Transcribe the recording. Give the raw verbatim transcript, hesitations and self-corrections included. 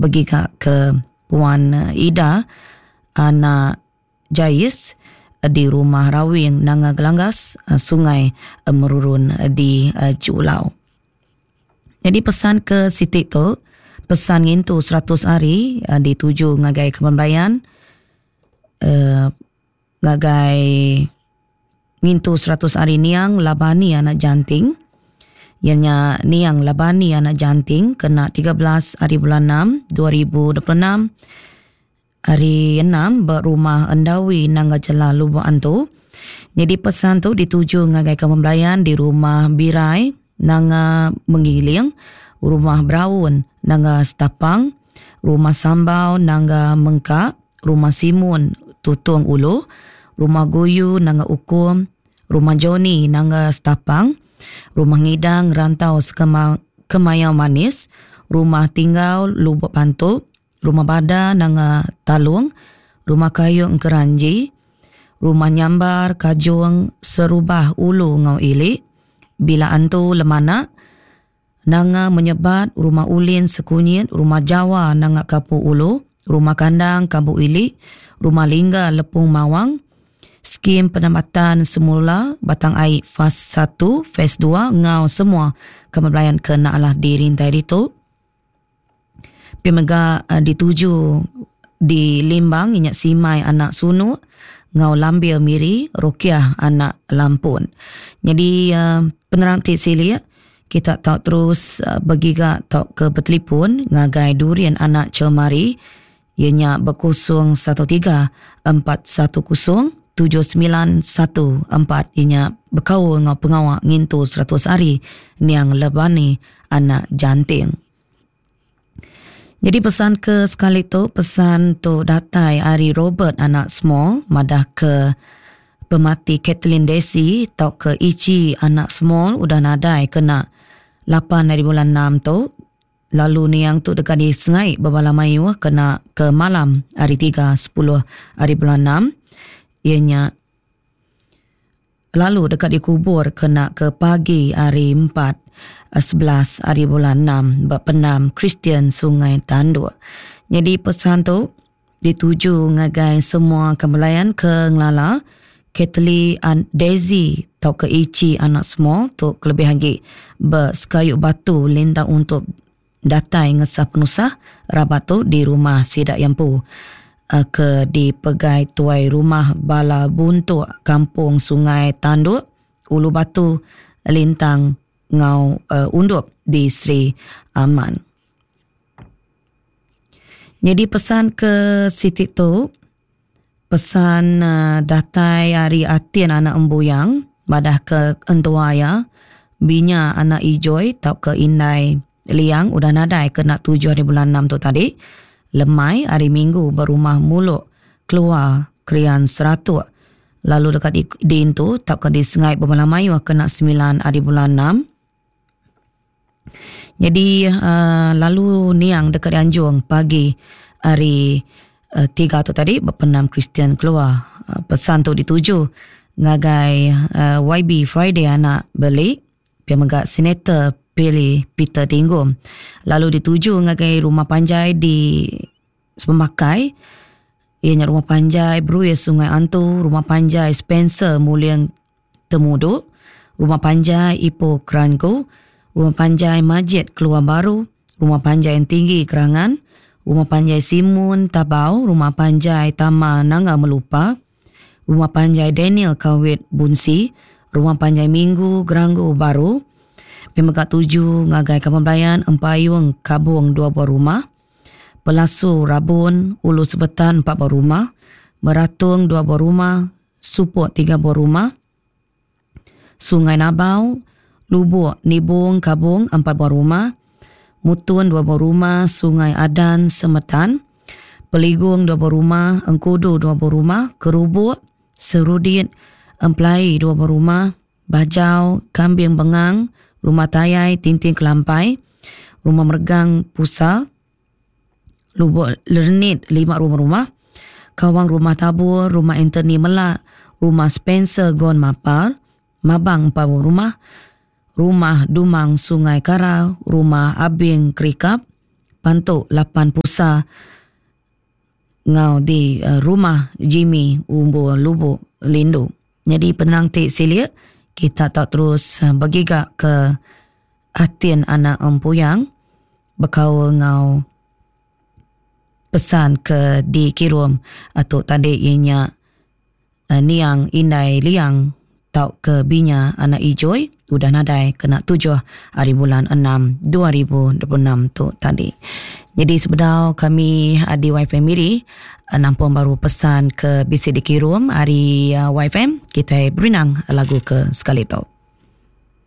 begiga ke Puan Ida anak Jais di rumah Rawing Nanga Gelanggas Sungai Merurun di Julau. Jadi pesan ke Siti tu, pesan ngintu seratus hari dituju ngagai kembayan uh, ngagai ngintu seratus hari niang Labani anak Janting. Ianya niang Labani anak Janting kena tiga belas hari bulan enam dua ribu dua puluh enam hari enam berumah Endawi Nangga Jela Lubuk Antu. Jadi pesan tu dituju ngagai kembayan di rumah Birai Nanga Menggiling, rumah Braun Nanga Stapang, rumah Sambau Nanga Mengkak, rumah Simun Tutung Ulu, rumah Guyu Nanga Ukum, rumah Joni Nanga Stapang, rumah Ngidang Rantau Sekema, Kemayau Manis, rumah Tinggal Lubuk Pantuk, rumah Bada Nanga Talung, rumah Kayu Engkeranji, rumah Nyambar Kajung Serubah Ulu Ngau Ilik, Bila Antu Lemana, Nanga Menyebat, rumah Ulin Sekunyit, rumah Jawa Nanga Kapu Ulu, rumah Kandang Kabu Ilik, rumah Lingga Lepung Mawang, skim penempatan semula Batang Ai fas satu, fas dua, ngau semua kemelayan ke nak lah dirintai itu. Pimega uh, dituju di Limbang inyak Simai anak Sunu, ngau Lambir Miri, Rukiah anak Lampun. Jadi uh, penerang ti silia kita tak terus uh, bergiga tak ke bertelefon ngagai Durian anak Cemari ianya berkosong satu tiga empat satu kosong tujuh sembilan satu empat ianya berkaul ngau pengawak ngintu seratus hari niang Lebani anak Janting. Jadi pesan ke sekali tu, pesan tu datai ari Robert anak Small madah ke pemati Kathleen Desi tau ke Ichi anak Small udah nadai kena lapan hari bulan enam tu. Lalu niang tu dekat di Sengai berbala mayu kena ke malam hari tiga sepuluh hari bulan enam. Ianya lalu dekat dikubur kena ke pagi hari empat sebelas hari bulan enam berpenam Kristian Sungai Tanduk. Jadi pesan tu dituju ngagai semua kemelayan ke Ngelala, Kathleen and Daisy tau ke Ichi anak semua tu kelebihan lagi bersekayuk batu lintang untuk datai ngesah penusah rabat tu di rumah Sidak Yampu ke dipegai tuai rumah Bala Buntuk Kampung Sungai Tanduk Ulu Batu Lintang Ngau uh, Undup di Sri Aman. Jadi pesan ke Siti tu, pesan uh, datai hari Atin anak Embuyang madah ke entuaya binya anak Ijoy tau ke Indai Liang udah nadai kena tujuh hari bulan enam tu tadi. Lemai hari Minggu berumah muluk keluar krian seratuk. Lalu dekat di, di intu tak ke di Sengai bermalam mayu kena sembilan hari bulan enam. Jadi uh, lalu niang dekat Anjung pagi hari uh, tiga tu tadi berpenam Kristian keluar. Uh, pesan tu dituju ngagai uh, Y B Friday anak beli pia megak Senator Pilih Peter Tinggum. Lalu dituju ngagai rumah panjai di Sepemakai, ianya rumah panjai Beruya Sungai Antu, rumah panjai Spencer Muliang Temuduk, rumah panjai Ipoh Keranku, rumah panjai Majid Keluar Baru, rumah panjai yang tinggi Kerangan, rumah panjai Simun Tabau, rumah panjai Tama Nanga Melupa, rumah panjai Daniel Kawit Bunsi, rumah panjai Minggu Geranggu Baru, Pemegak tujuh ngagai Kampung Belayan, Empayung Kabung dua buah rumah, Pelasu Rabun Ulu Sebetan empat buah rumah, Meratung dua buah rumah, Supok tiga buah rumah, Sungai Nabau, Lubuk Nibung Kabung empat buah rumah, Mutun dua buah rumah, Sungai Adan Semetan, Peligung dua buah rumah, Engkudu dua buah rumah, Kerubuk, Serudit, Emplai dua buah rumah, Bajau, Kambing Bengang, Rumah Tayai, Tintin Kelampai, Rumah Mergang Pusa, Lubuk Lernit, lima rumah-rumah, Kawang Rumah Tabur, Rumah Anthony Melak, Rumah Spencer Gon Mapar, Mabang empat rumah, Rumah Dumang Sungai Kara, Rumah Abing Kerikap, Pantu lapan Pusa ngau di Rumah Jimmy Umbu Lubuk Lindu. Jadi penerang ti silik kita tak terus begiga ke Atin anak Empuyang bekaul ngau pesan ke dikirum atau tadi ianya niang Indai Liang tau ke binya anak Ijoi udah nadai kena tujuh hari bulan enam dua ribu dua puluh enam tu tadi. Jadi sebedau kami di Y F M Miri nampung baru pesan ke bisi dikirum hari Y F M, kita berinang lagu ke sekali tu.